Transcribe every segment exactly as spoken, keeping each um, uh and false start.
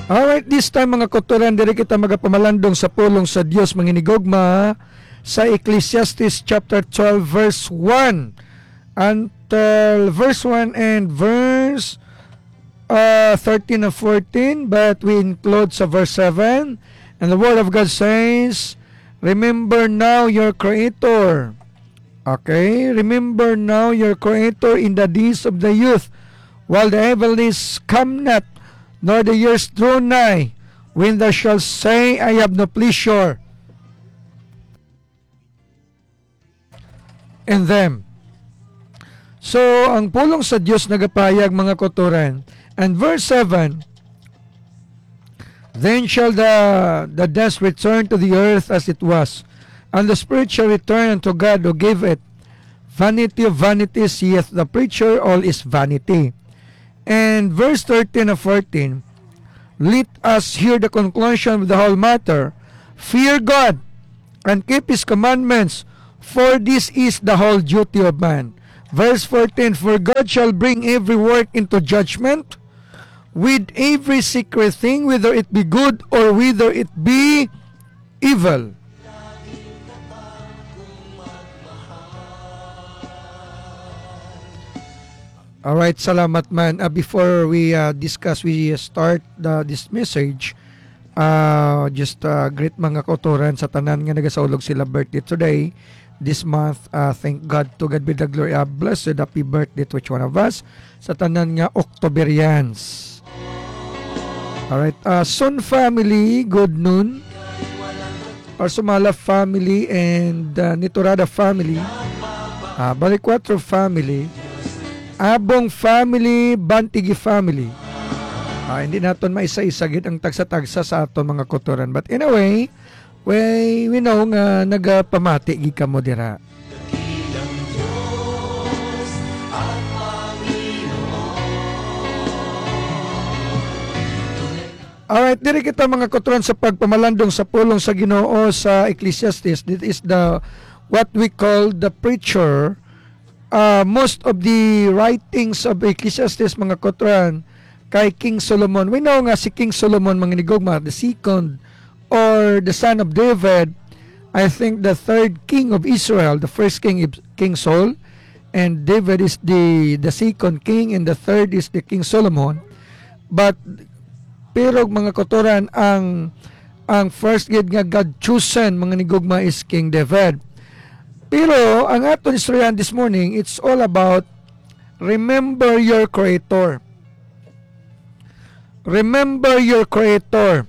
Alright, this time, mga kauturan, diri kita magapamalandong sa pulong sa Dios, mga hinigugma, sa Ecclesiastes chapter twelve, verse one until verse one and verse, uh, thirteen and fourteen, but we include sa verse seven. And the word of God says, "Remember now your Creator." Okay? "Remember now your Creator in the days of the youth, while the evil days come not, nor the years draw nigh, when thou shalt say, 'I have no pleasure in them.'" So, ang pulong sa Dios nagapahayag, mga kauturan. And verse seven, "Then shall the, the dust return to the earth as it was, and the spirit shall return unto God who gave it. Vanity of vanities, saith the preacher, all is vanity." And verse thirteen and fourteen, let us hear the conclusion of the whole matter. "Fear God and keep his commandments, for this is the whole duty of man." Verse fourteen, "For God shall bring every work into judgment, with every secret thing, whether it be good or whether it be evil." Alright, salamat man. Ah, before we, ah, discuss, we, ah, start the, this message, ah, just, ah, greet, mga kauturan, sa tanan nga nagasaulog sila birthday today, this month. Ah, thank God, to God be the glory. Ah, blessed happy birthday to each one of us, sa tanan nga Octoberians. Alright, ah, Sun family, good noon. Parsumala family and, ah, Niturada family. Ah, Balicuatro family. Abong family, Bantigi family. Ah, hindi naton maisa-isa gid ang tagsa-tagsa sa aton mga kauturan. But anyway, we, we know nga nagapamati gid kamo dira. Alright, diri kita, mga kauturan, sa pagpamalandong sa pulong sa Ginoo sa Ecclesiastes. This is the, what we call the preacher. Uh, most of the writings of Ecclesiastes, mga kauturan, kay King Solomon. We know nga si King Solomon, mga hinigugma, the second or the son of David, I think the third king of Israel. The first king is King Saul, and David is the, the second king, and the third is the King Solomon. But, pero, mga kauturan, ang, ang first gid nga God chosen, mga hinigugma, is King David. Pero ang aton istoryahan this morning, it's all about remember your Creator. Remember your Creator.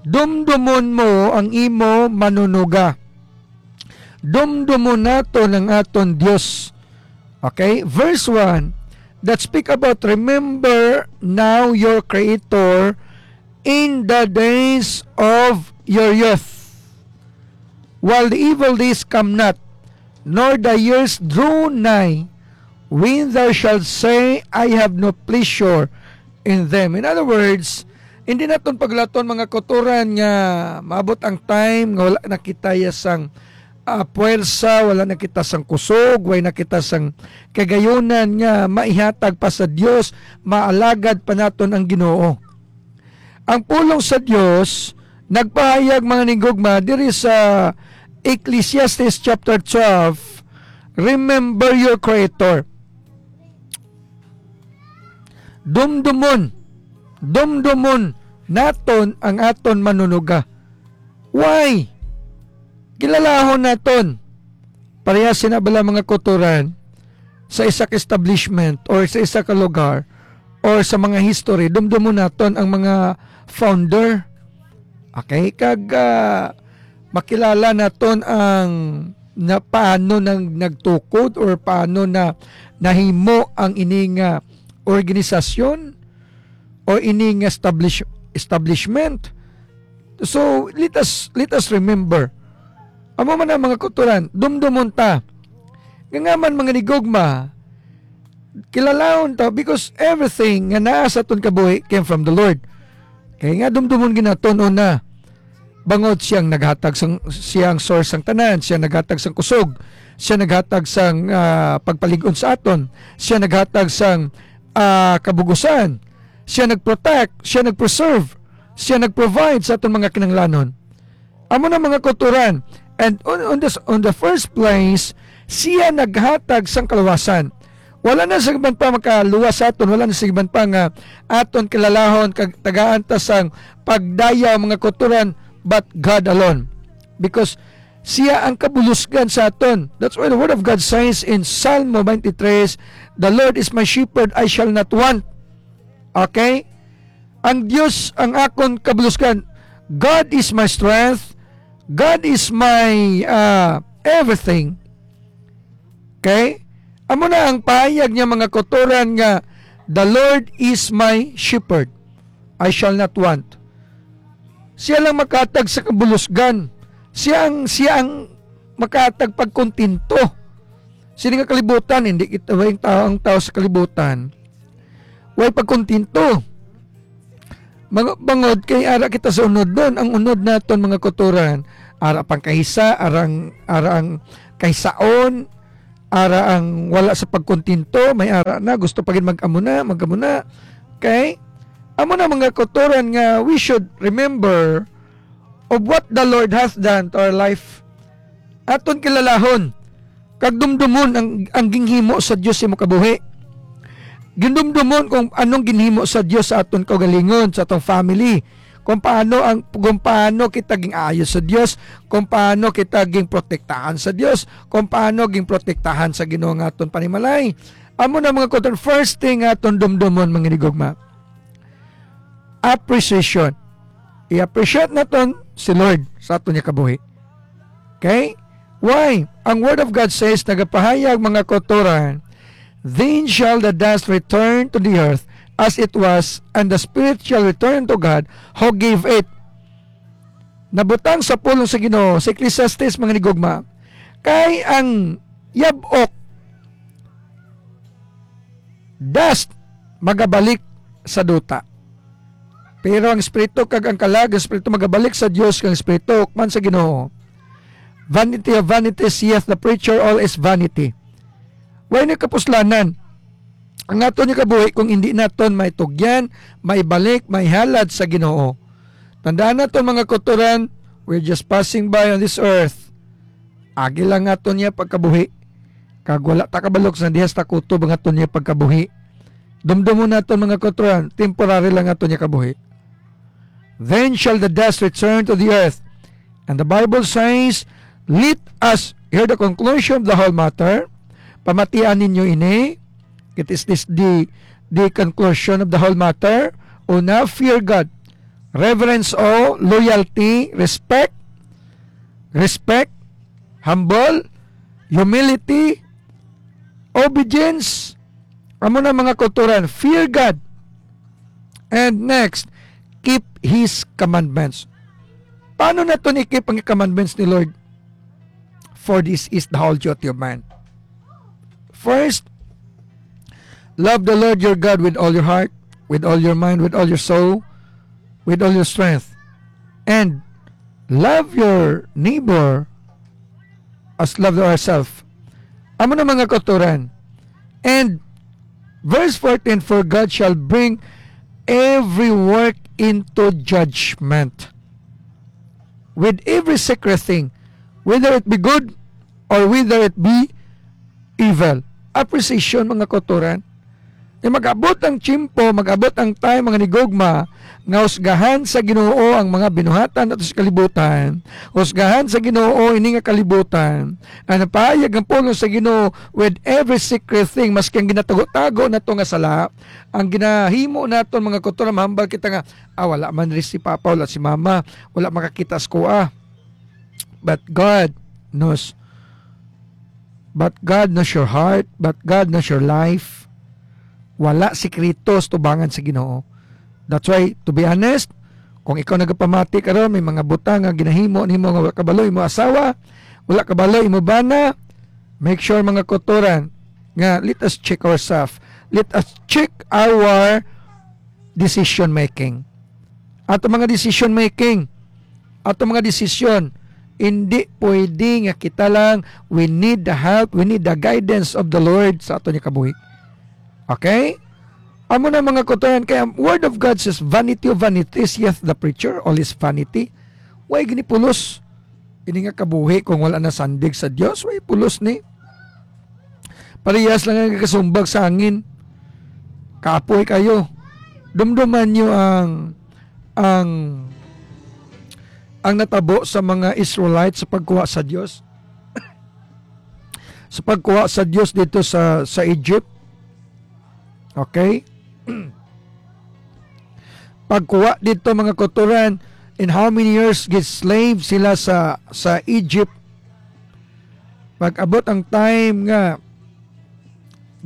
Dumdumon mo ang imo Manunuga. Dumdumon naton ang aton Dios. Okay? Verse one, that speak about, "Remember now your Creator in the days of your youth, while the evil days come not, nor the years draw nigh, when thou shalt say, 'I have no pleasure in them.'" In other words, hindi naton paglaton, mga kauturan, nga maabot ang time nga wala na kita ya sang, ah, puwersa, wala na kita sang kusog, wala na kita sang kagayunan nga maihatag pa sa Dios, maalagad pa naton ang Ginoo. Ang pulong sa Dios nagpahayag, mga hinigugma, diri sa Ecclesiastes chapter twelve, "Remember your Creator." Dumdumon, dumdumon naton ang aton Manunuga. Why? Kilalahon naton. Parehas sina bala, mga kauturan, sa isa ka establishment or sa isa ka lugar or sa mga history, dumdumon naton ang mga founder. Okay? Kag, ah, makilala naton ang na, paano nang nagtukod or paano na nahimo ang ini nga organisasyon o ini nga establish-, establishment. So, let us, let us remember. Amo man ang, mga kauturan, dumdumon ta. Nga nga man, mga hinigugma, kilalahon ta, because everything nga naa sa aton kabuhi came from the Lord. Kay nga dumdumon gid naton, una, bangod siya ang naghatag sang, siya ang source sang tanan, siya naghatag sang kusog, siya naghatag sang, ah, pagpalig-on sa aton, siya naghatag sang, ah, kabug-usan. Siya nag-protect, siya nag-preserve, siya nag-provide sa aton mga kinahanglanon. Amo na, mga kauturan. And on, on, this, on the first place, siya naghatag sang kaluwasan. Wala na sa iban pa makaluwas sa aton, wala na sa iban pa nga aton kilalahon kag tagaan ta sang pagdayaw, mga kauturan, but God alone. Because siya ang kabulusgan sa aton. That's why the word of God says in Salmo twenty-three, "The Lord is my shepherd, I shall not want." Okay? Ang Dios ang akon kabulusgan. God is my strength. God is my, ah, everything. Okay? Amo na ang pahayag niya, mga kauturan, nga, "The Lord is my shepherd. I shall not want." Siya lang makatag sa kabulusgan. Siya ang, siya ang makatag pagkontento. Sini nga kalibutan, hindi kita, way tao, ang tao sa kalibutan, way pagkontento. Mga bangod kay ara kita sa unod nun. Ang unod naton, mga kauturan, ara pang kahisa, arang, arang kahisaon, ara ang wala sa pagkontento, may ara na, gusto pa gid mag-amo na, mag-amo na. Okay? Amo na, mga kauturan, nga we should remember of what the Lord hath done to our life. Aton kilalahon kag dumdumon ang, ang ginhimo sa Dios sa imo kabuhi. Gindumdumon kung anong ginhimo sa Dios sa aton kaugalingon, sa atong family, kung paano ang, kung paano kita gin-ayo sa Dios, kung paano kita ginprotektahan sa Dios, kung paano ginprotektahan sa Ginoo nga aton panimalay. Amo na, mga kauturan, first thing nga aton dumdumon, mga hinigugma, appreciation. I-appreciate naton si Lord sa aton nga kabuhi. Okay? Why? Ang Word of God says, nagapahayag, mga kauturan, "Then shall the dust return to the earth as it was, and the spirit shall return to God who gave it." Nabutang sa pulong sa Ginoo, sa Ecclesiastes, mga hinigugma, kay ang yab-ok, dust, magabalik sa duta. Pero ang espiritu kag ang kalag, ang espiritu magabalik sa Dios, kag ang espiritu hukman sa Ginoo. Vanity of vanities, yet the preacher all is vanity. Way na kapuslanan ang aton nga kabuhi kung hindi naton maitugyan, maibalik, maihalad sa Ginoo. Tandaan naton, mga kauturan, we're just passing by on this earth. Agi lang aton niya pagkabuhi. Kag wala ta kabalo kung sa dihas ta kutob ang aton niya pagkabuhi. Dumdumon naton, mga kauturan, temporary lang aton niya kabuhi. "Then shall the dust return to the earth." And the Bible says, let us, hear the conclusion of the whole matter. Pamatian ninyo ini. It is this the, the conclusion of the whole matter. Una, fear God. Reverence, awe, loyalty, respect. Respect, humble, humility, obedience. Amo na, mga kauturan, fear God. And next, keep His commandments. Paano naton i-keep ang commandments ni Lord? "For this is the whole duty of man." First, love the Lord your God with all your heart, with all your mind, with all your soul, with all your strength. And love your neighbor as love ourselves. Amo na, mga kauturan. And verse fourteen, "For God shall bring every work into judgment, with every secret thing, whether it be good or whether it be evil." Appreciation, mga kauturan. Kay mag-abot ang tiyempo, mag-abot ang time, mga hinigugma, nga husgahan sa Ginoo ang mga binuhatan nato sa kalibutan. Husgahan sa Ginoo ini nga kalibutan. Ang napahayag ang pulong sa Ginoo, with every secret thing, maski ang ginatago-tago nato nga sala, ang ginahimo naton, mga kauturan, mahambal kita nga, "Ah, wala man rin si Papa, wala si Mama, wala makakita sa kuha." But God knows. But God knows your heart. But God knows your life. Wala sikreto sa tubangan sa Ginoo. That's why, to be honest, kung ikaw nagapamati karon, may mga butang nga ginahimo nimo nga wala kabalo imo asawa, wala kabalo imo bana, make sure, mga kauturan, nga let us check ourselves. Let us check our decision making. Ato mga decision making, ato mga desisyon, hindi pwede nga kita lang, we need the help, we need the guidance of the Lord sa ato niya kabuhi. Okay? Amo na, mga kautoran, kay ang Word of God says, "Vanity of vanities, saith the preacher, all is vanity." Way gini pulos. Ini nga kabuhi kung wala nasandig sa Dios, way pulos ni. Parehas lang ang kasumbag sa hangin. Kapoy kayo. Dumduman niyo ang, ang, ang natabo sa mga Israelites sa pagkuha sa Dios. Sa pagkuha sa Dios dito sa, sa Egypt. Okay? Pagkuha dito, mga kautoran, in how many years gid slave sila sa, sa Egypt. Pag-abot ang time nga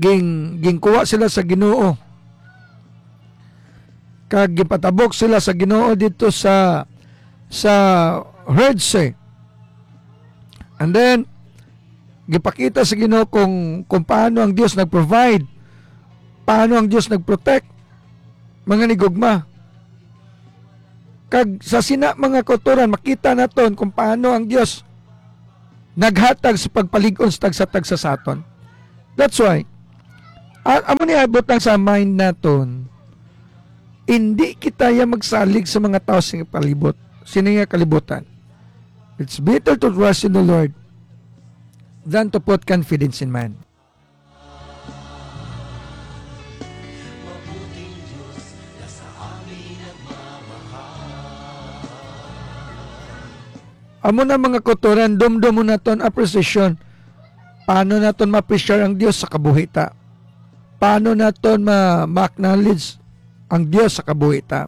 ging-, gingkuha sila sa Ginoo, kag gipatabok sila sa Ginoo dito sa, sa Red Sea. And then, gipakita sa Ginoo kung, kung paano ang Dios nag-provide, paano ang Dios nag-protect, mga nigugma. Kag sa sina, mga kautoran, makita naton kung paano ang Dios naghatag sa pagpalig-on sa tagsa-tagsa sa aton. That's why, a-, amo ni abot lang sa mind naton, hindi kita ya magsalig sa mga tao sa palibot, sini nga kalibutan. It's better to trust in the Lord than to put confidence in man. Amo na, mga kautoran, dumdumon naton appreciation. Paano naton ma-appreciate ang Dios sa kabuhi ta? Paano naton ma-, ma-acknowledge ang Dios sa kabuhi ta?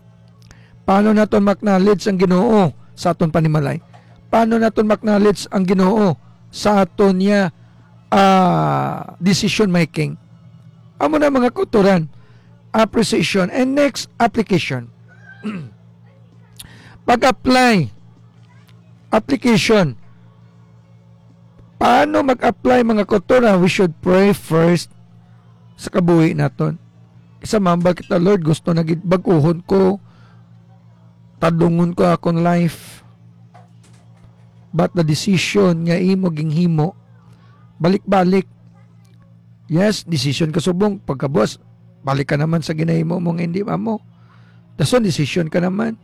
Paano naton ma-acknowledge ang Ginoo sa aton panimalay? Paano naton ma-acknowledge ang Ginoo sa aton niya, ah, decision making? Amo na, mga kautoran, appreciation. And next, application. Pag-apply. Application. Paano mag-apply, mga kautoran? We should pray first sa kabuhi naton. Sa mambal kita, "Lord, gusto na gid bag-uhon ko, tadlungon ko akon life." But the decision nga imo ginhimo, balik-balik. Yes, decision ka subong, pagkabuas, balik ka naman sa ginahimo mo nga hindi amo. Dason, decision ka naman.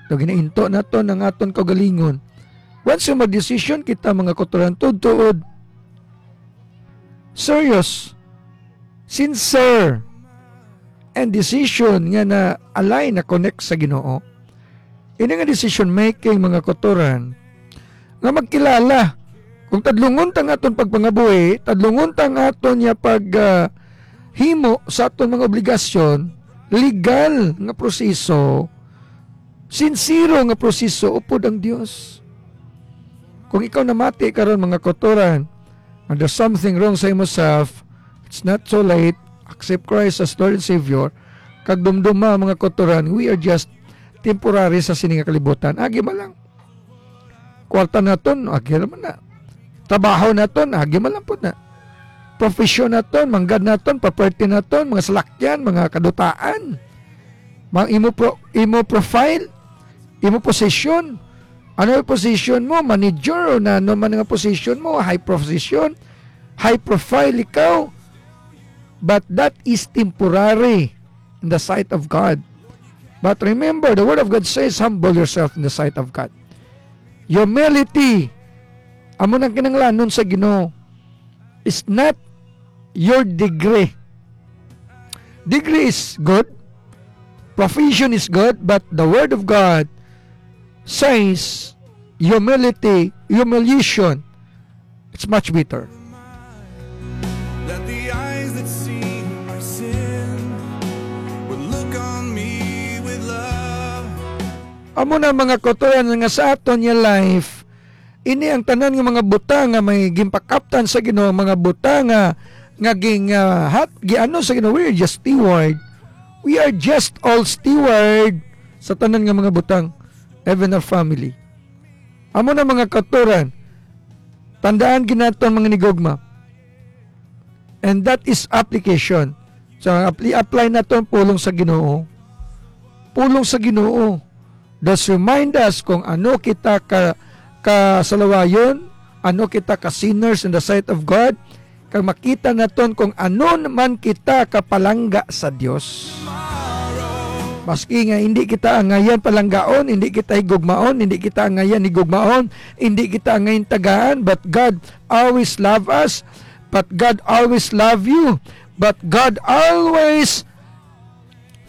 So, ginainto naton ang aton kaugalingon. Once nga mag-decision kita, mga kautoran, tuod-tuod, serious, sincere, and decision nga na-align, na-connect sa Ginoo. Ini nga decision making, mga kautoran, nga magkilala kung tadlungon ta ang aton pagpangabuhi, tadlungon ta ang aton nga pag, ah, himo sa aton mga obligasyon, legal nga proseso, sinsero nga proseso upod ang Dios. Kung ikaw namati karon, mga kautoran, and there's something wrong sa imo self, it's not too late. Accept Christ as Lord and Savior. Kag dumduma, mga kautoran, we are just temporary sa sini nga kalibutan. Agi man lang. Kwarta naton, agi man na. Trabaho naton, agi man lang pud na. Profesyon naton, manggad naton, property naton, mga salakyan, mga kadutaan. Mga imo pro-, imo profile, imo position. Ano yung position mo? Manager o na, ano man nga position mo? High position, high profile ikaw. But that is temporary in the sight of God. But remember, the Word of God says, "Humble yourself in the sight of God." Humility, amo nang kinahanglanon sa Ginoo. Is not your degree. Degree is good, profession is good, but the Word of God says humility, humiliation, it's much better. Let the eyes that see my sin would look on me with love. Amo na, mga kautoran, nga sa aton nga life, ini ang tanan nga mga butang nga may ginpakaptan sa Ginoo, mga butang nga, nga ging, ah, hat, giano sa Ginoo, we are just steward. We are just all steward sa tanan nga mga butang, even our family. Amo na, mga kautoran, tandaan gid naton, mga nigugma. And that is application. So, ang apply, apply naton pulong sa Ginoo. Pulong sa Ginoo. Does remind us kung ano kita ka, kasalawayon, ano kita ka sinners in the sight of God, kag makita naton kung ano man kita kapalangga sa Dios. Maski nga hindi kita angayan palanggaon, hindi kita higugmaon, hindi kita angayan higugmaon, hindi kita angayan tagaan, but God always love us, but God always love you, but God always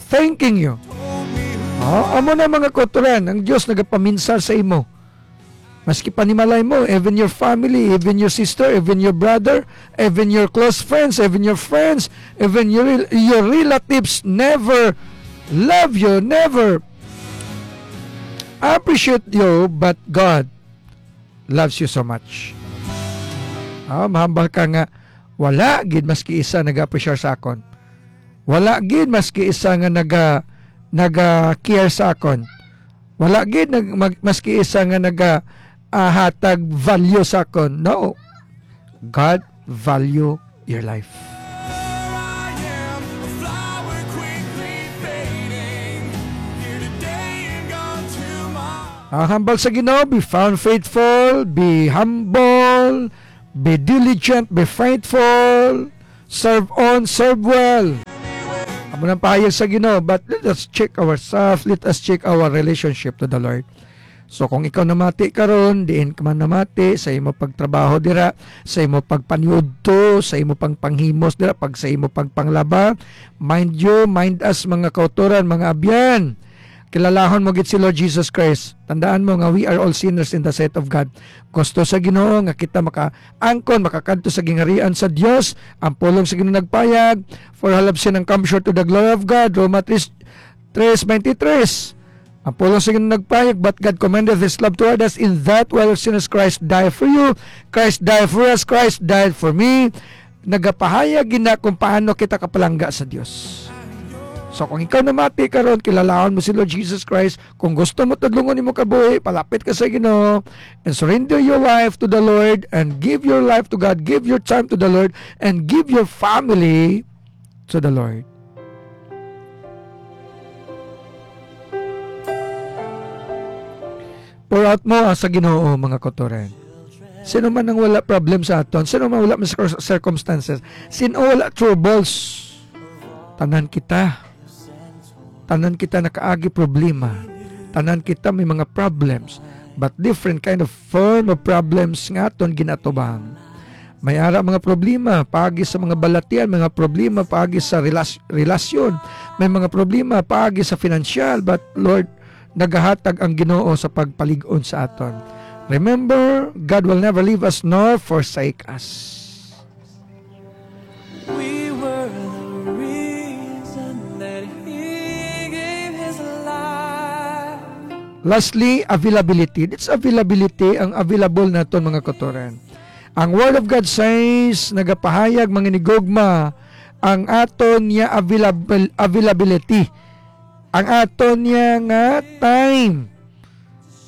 thanking you. Oh, amo na, mga kautoran, ang Dios nagapaminsar sa imo. Maski panimalay mo, even your family, even your sister, even your brother, even your close friends, even your friends, even your rel-, your relatives never love you, never appreciate you, but God loves you so much. Ah, mahambal ka nga, wala gid maski isa nag-appreciate sa akon. Wala gid maski isa nga naga-, naga-care sa akon. Wala gid nag-, mag-, maski isa nga naga-, ah, hatag value sa akon. No. God value your life. Ang hambal sa Ginoo, be found faithful, be humble, be diligent, be faithful, serve on, serve well. Amo nang pahayag sa Ginoo, but let us check ourselves, let us check our relationship to the Lord. So, kung ikaw namati karon, diin ka man namati, sa imo pagtrabaho dira, sa imo pagpaniudto, sa imo pang panghimos dira, pag sa imo pagpanglaba, mind you, mind us, mga kautoran, mga abyan. Kilalahon mo gid si Lord Jesus Christ. Tandaan mo nga we are all sinners in the sight of God. Gusto sa Ginoo nga kita makaangkon, makakadto sa gingharian sa Dios. Ang pulong sa Ginoo nagpayag, "For all have sinned and come short to the glory of God." Roma three, three twenty-three. Ang pulong sa Ginoo nagpayag, "But God commendeth His love toward us in that while sinners Christ died for you." Christ died for us, Christ died for me. Nagapahayag gina kung paano kita kapalangga sa Dios. So, kung ikaw namati karon, kilalahon mo si Lord Jesus Christ, kung gusto mo tudlungon imong kabuhi, palapit ka sa Ginoo, and surrender your life to the Lord, and give your life to God, give your time to the Lord, and give your family to the Lord. Pour out mo, ah, sa Ginoo, mga kautoran. Sino man ang wala problem sa aton? Sino man wala may cir-, circumstances? Sino wala troubles? Tanan kita. Tanan kita nakaagi problema. Tanan kita may mga problems. But different kind of form of problems nga aton ginatubang. May ara mga problema paagi sa mga balatian, mga problema paagi sa relas-, relasyon. May mga problema paagi sa financial. But Lord, nagahatag ang Ginoo sa pagpalig-on sa aton. Remember, God will never leave us nor forsake us. We were the reason that He gave His life. Lastly, availability. This availability ang available naton, mga kautoran. Ang Word of God says, nagapahayag, mga hinigugma, ang aton niya available, availability. Ang aton niya nga time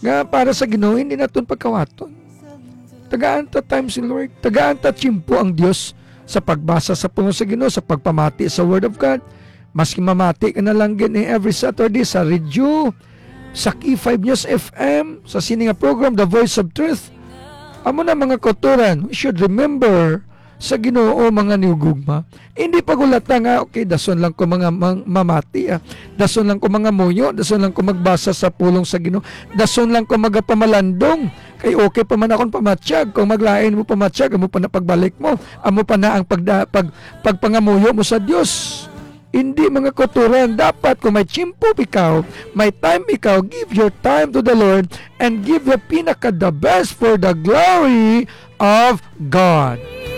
nga para sa Ginoo, hindi naton pagkawaton. Tagaan ta time si Lord. Tagaan ta tiyempo ang Dios sa pagbasa sa pulong sa Ginoo, sa pagpamati sa Word of God. Maski mamati ka na lang gid ni every Saturday sa radio, sa K five News F M, sa sini nga program, The Voice of Truth. Amo na, mga kautoran, we should remember sa Ginoo, mga hinigugma. Hindi pagulata nga, "Okay, dason lang ko mga mang-, mamati, ah. Dason lang ko mangamuyo, dason lang ko magbasa sa pulong sa Ginoo. Dason lang ko magapamalandong. Kay okay pa man akong pamatyag. Kung maglain mo pamatyag, amo pa na pagbalik mo. Amo pa na ang pagda-, pag-, pagpangamuyo mo sa Dios." Hindi, mga kautoran. Dapat kung may tiyempo ikaw, may time ikaw, give your time to the Lord and give your pinaka the best for the glory of God.